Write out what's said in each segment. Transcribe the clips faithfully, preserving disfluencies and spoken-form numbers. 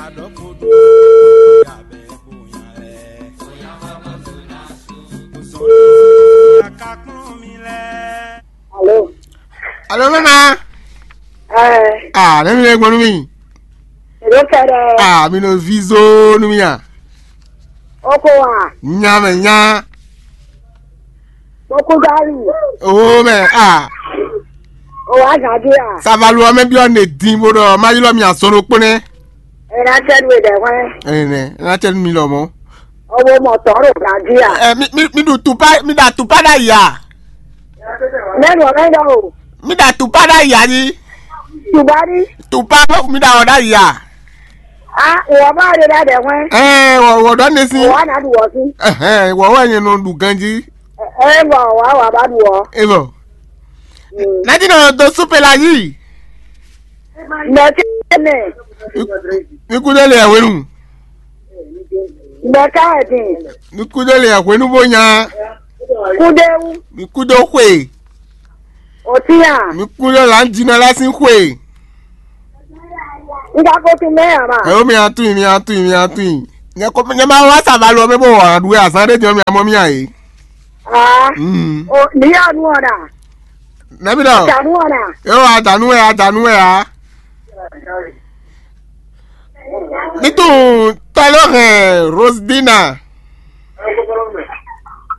Alo. Alo, mama. Ɛɛ. Ah, ne mi le gbɔn nú mi. Èdè kɛɖɛ. Ah, mi nɔ vi zo nú mi a. Oko wa. Nya mɛ nya. Oko gari. Oh mɛ ah. O wa gadi a. Savalu ɔmɛ bi ɔ ne din bo ɖɔ ma ylɔ mi azɔn ɖokpó nɛ. Ena tɛ nu edɛ hwɛ. Ɛnɛ, ena tɛ nu mi lɔ mɔ. Ɔwɔ mɔ tɔ ɖo gadi a. Ɛ mi mi mi ɖu tupa mi ɖa tupa ɖa ya. Mɛnu ɔmɛ ɖɔ o. Mi ɖa tupa ɖa ya ni. Tubari. Tupa mi ɖa ɔ ɖa ya. A wɔ ba ɖe ɖa ɖɛ hwɛ. Ɛɛ wɔ wɔ ɖɔ ne si. Wɔ na ɖu wɔ si. Ɛhɛn wɔ wɔ nyɛ nɔ ɖu ganji. Ɛ bɔ wa wa ba ɖu wɔ. E bɔ. Nadi nɔ do supe la yi. Mɛ kɛ nɛ. Mi kudo le awenu. Mɛ ka ɛ din. Mi kudo le awenu bo nya. Kudewu. Mi kudo xwe. Otinya. Mi kudo la ŋdinɔ la sin xwe. N ka ko tún mɛ ǎ ma. Ɛ o mi atún mi atún mi atún. Nyɛ ko nyɛ ma wá savalu ɔmɛ bó wà ɖu azán ɖé jɔ mi amɔ mi ayé. Ah. Mm. O ni ya nu ɔna. Nɛbi dɔ. Danu ɔna. Yo adanu ɛ adanu ɛ a. Nítorí tɔlɔ hɛn Rosedina.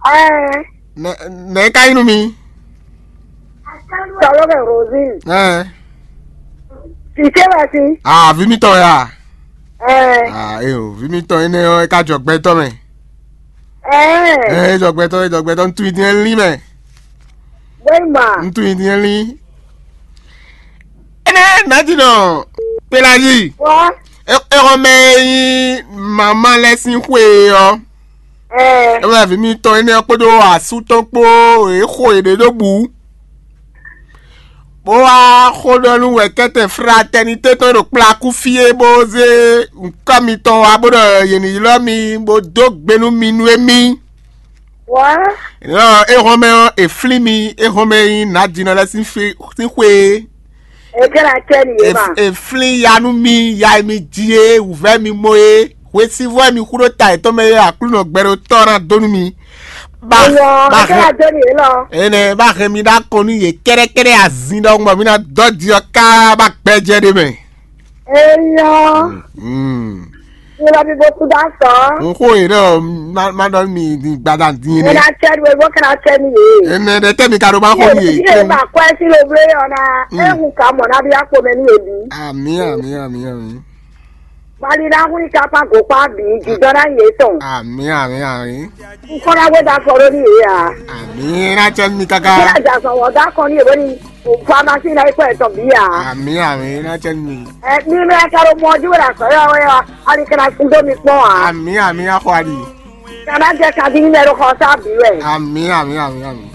Ɛɛ. Nɛ nɛ ka yín nu mi. Tɔlɔ hɛn Rosie. Ɛɛ. Fìtɛ wɛ sí. Ah, vi mi tɔn ya. Ɛɛ. Ah, eyo, vi mi tɔn énɛ́ ɔ́, é ká jɔ gbɛtɔ́ mɛ. Ɛɛ. Ɛɛ, é jɔ gbɛtɔ́, é jɔ gbɛtɔ́, ntú idiɛn lín mɛ. Wéma. Ntú idiɛn lín. Énɛ́ nǎjínɔ Pelayi. Wá. Exɔmɛ e nyí mama lɛ́ɛ sín xwe ɔ́. Ɛɛ. É wɛ vǐ mitɔn énɛ́ ɔ́ kpódó asú tɔn kpó, é xo yě ɖé ɖó bǔ. Bó wá xó ɖɔ nú wɛ̌kɛ́tɛn fratɛnité tɔn e ɖo kplakú fí é, bó zé nǔkɔ mitɔn wá, bó ɖɔ yě ní ylɔ́ mi, bó dó gbe nú mi nú émí. Wá. Lɔ é hɔn mɛ ɔ́, è flín mi, é hɔn mɛ nyí nǎjínɔ lɛ́ɛ sín fí sín xwé. È jẹ́ ná cɛ nìyẹn ma. È flín ya nú mi, ya e mi ji é, wǔvɛ́ mi mɔ é, hwesivɔ́ e mi xú ɖó ta yětɔn mɛ é, Aklúnɔ gbɛɖótɔ́ ná dó nú mi. Ba Eyɔ, ba é jẹ́ ná hɛn dó nìyẹn lɔ. Énɛ́ ba hɛn mi ɖó akɔn nú yě kɛ́ɖɛ́kɛ́ɖɛ́ azin ɖɔhun bɔ mi ná dɔ́ ji ɔ́ ká ba gbɛjɛ ɖé mɛ. Eyɔ. Mm. Ilɔ mi bo kú dá sɔ. N xó yě ɖɔ má má ɖɔ mi din gbada din Ena énɛ́. Cɛ ɖu ebo kana cɛ mi ye. Énɛ́ ɖɛ tɛ́ mi ka ɖo má xó mi yě. Ye ma kɔ esi lo ble yɔ na. Mm. Ehu ka mɔ na bi akpo mɛ ni ye bi. Amì amì amì amì. Bali na hu ka pa go pa bi jidɔ na ye tɔn. Amì amì amì. N kɔ na we da kɔ lo ni ye ya. Amì na cɛ mi kaka. Kí na jà sọ wọ da kɔ ni ye bo ni. Pharmacie na ikpɔ etɔn bi ya. Amì amì na cɛ mi. Ɛ mi mɛ ka ɖo mɔ jí wɛ la sɔ yɔ wɛ yɔ ali kana kun dó mi kpɔn a. Amì amì axɔ ali. Kana jɛ kadi mi mɛ ɖo xɔ sa bi wɛ. Amì amì amì amì.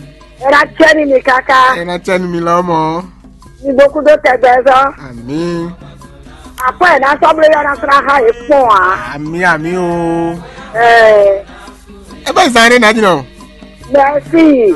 Ɛ na cɛ ni mi kaka. Ɛ na cɛ ni mi lɔ mɔ. Mi bo kun dó tɛgbɛ zɔ. Amì. Akɔ ɛ na sɔblo yɔ na sra ha e kpɔn a. Amì amì o. Ɛ. Ebe zan ne na di nɔ. Merci.